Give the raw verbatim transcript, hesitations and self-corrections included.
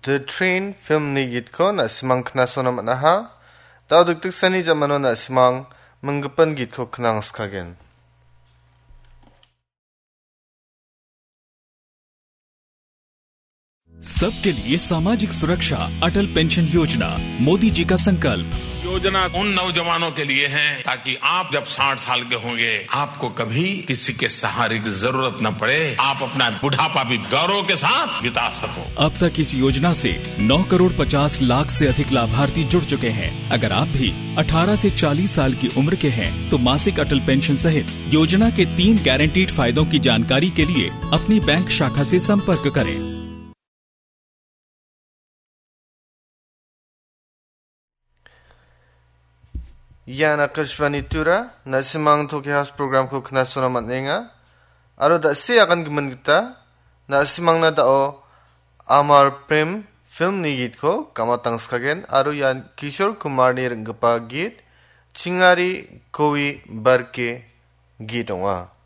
The Train filmni gitko na·simang knasona man·aha. Da·o dikdiksani jamano na·simang minggipin gitko knangskagen. सबके लिए सामाजिक सुरक्षा, अटल पेंशन योजना, मोदी जी का संकल्प। योजना उन नौजवानों के लिए है, ताकि आप जब साठ साल के होंगे, आपको कभी किसी के सहारे की जरूरत न पड़े, आप अपना बुढ़ापा भी गौरव के साथ बिता सको। अब तक इस योजना से नौ करोड़ पचास लाख से अधिक लाभार्थी जुड़ चुके हैं। अगर आप भी अठारह से चालीस साल की उम्र के हैं, तो मासिक अटल पेंशन सहित योजना के तीन गारंटीड फायदों की जानकारी के लिए अपनी बैंक शाखा से संपर्क करें। Ian Akashvani Tura, na·simang Tokyo House program-ko knasona man·enga. Aro da·se agangimin gita, na·simangna da·o Amar Prem film-ni gitko gamatangskagen, aro ian Kishore Kumar-ni ring·gipa git, Chingari Koi Barke git ong·a.